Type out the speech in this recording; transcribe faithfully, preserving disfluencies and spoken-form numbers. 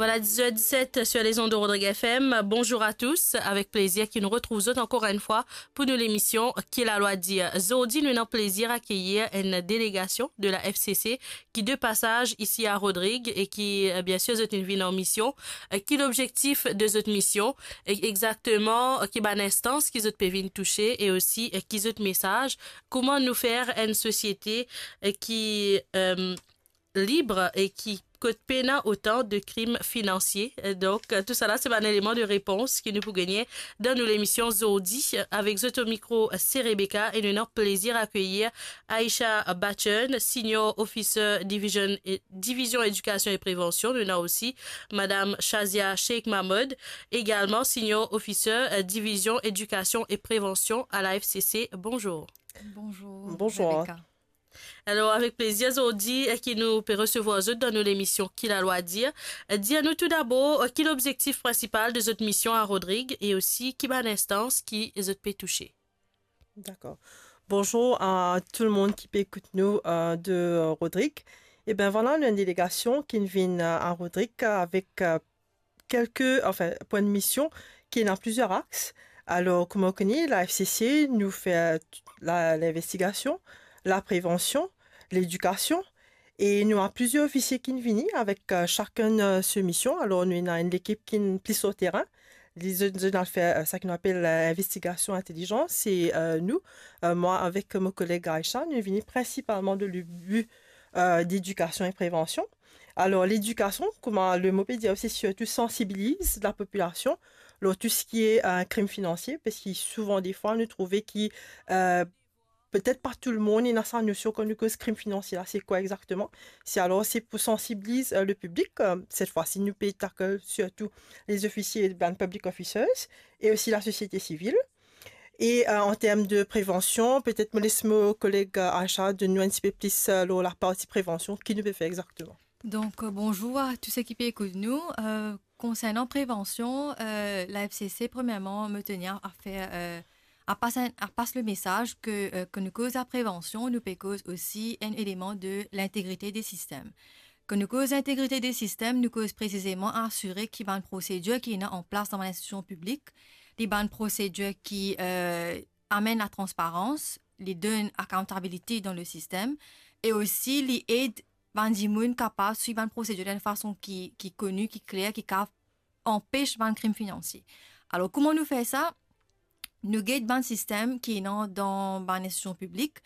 Voilà, dix heures dix-sept sur les ondes de Rodrigue F M. Bonjour à tous. Avek plezir ki nou retrouv zot ankor enn fwa pou nou lemision Ki Lalwa Dir. Zordi, nou ena plezir akeyir enn delegasion de la F C C ki de pasaz isi a Rodrig e ki, eh, bien sir, zot inn vinn an mision. Eh, ki lobzektif de zot mision? E exakteman, eh, ki bann instans ki zot pe vinn touse e osi, eh, ki zot mesaz? Kouma nou fer enn sosiete, eh, ki, eh, lib e ki kot pena otan de krim finansie. Donk, tousala se bann eleman de repons ki nou pou gagne dan nou lemision zordi. Avek zot o mikro, se Rebecca e nou ena plezir akeyir Aisha Bachun, Senior Officer Division, eh, Divizion Edikasion e Prevansion. Nou ena osi Madam Shazia Sheikh Mahmoud, egalman Senior Officer, eh, Divizion Edikasion e Prevansion a la F C C. Bonzour. Bonzour, Bonzour. Rebecca. Alor, avek plezir zordi, eh, ki nou pe resevwar zot dan nou lemision Ki Lalwa Dir. Eh, dir nou toudabor, eh, ki lobzektif prinsipal de zot mision a Rodrig e osi ki bann instans ki zot pe touse. Dakor. Bonzour a tou lemonn ki pe ekout nou, eh, de, eh, Rodrig. E ben vwala, nou enn delegasion ki vinn, eh, a Rodrig avek, eh, kelke, anfin, pou enn mision ki ena plizier ax. Alor, kouma ou kone, la F C C, nou fer, eh, la, linvestigasion, la prevansion, ledikasion, e nou ena plizier ofisie ki vini avek, eh, sakenn, eh, se mision. Alor, nou ena enn lekip ki plis lor terin. Li, zot, zot al fer, eh, sa ki nou apel, eh, investigasion intelizans. E, eh, nou, eh, mwa avek mo koleg Aisha, nou vini prinsipalman dan le bi, eh, dedikasion e prevansion. Alor, ledikasion, kouma le mo pe dir, se sirtou sansibiliz lapopilasion lor tou seki, eh, krim finansie, parski souvan defwa nou trouve ki, eh, petet pa tou lemonn ena sa nosion kan nou koz krim finansie la, se kwa exakteman. Se alor, se pou sansibiliz, eh, le piblik. Eh, set fwa-si, nou pe tackle sirtou lezofisie, bann public officers, e osi lasosiete sivil. E, eh, an term de prevansion, petet mo les mo koleg, eh, Aisha donn nou enn tipe plis, eh, lor laparti prevansion, ki nou pe fer exakteman. Donk, eh, bonzour a tou seki pe ekout nou. Eh, konsernan prevansion, eh, la F C C, premierman, mo teni a fer, eh, a pas enn, a pas le mesaz ke, eh, kan nou koz laprevansion, nou pe koz osi enn eleman de lintegrite de sistem. Kan nou koz lintegrite de sistem, nou koz presizeman asire ki bann prosedir ki ena an plas dan bann institusion piblik, li bann prosedir ki, eh, amenn latransparans, li donn accountability dan le sistem, e osi li ed bann dimoun kapav swiv bann prosedir dan enn fason ki, ki koni, ki kler, ki kapav anpes bann krim finansie. Alor, kouma nou fer sa? Nou get bann sistem ki ena dan bann institusion piblik,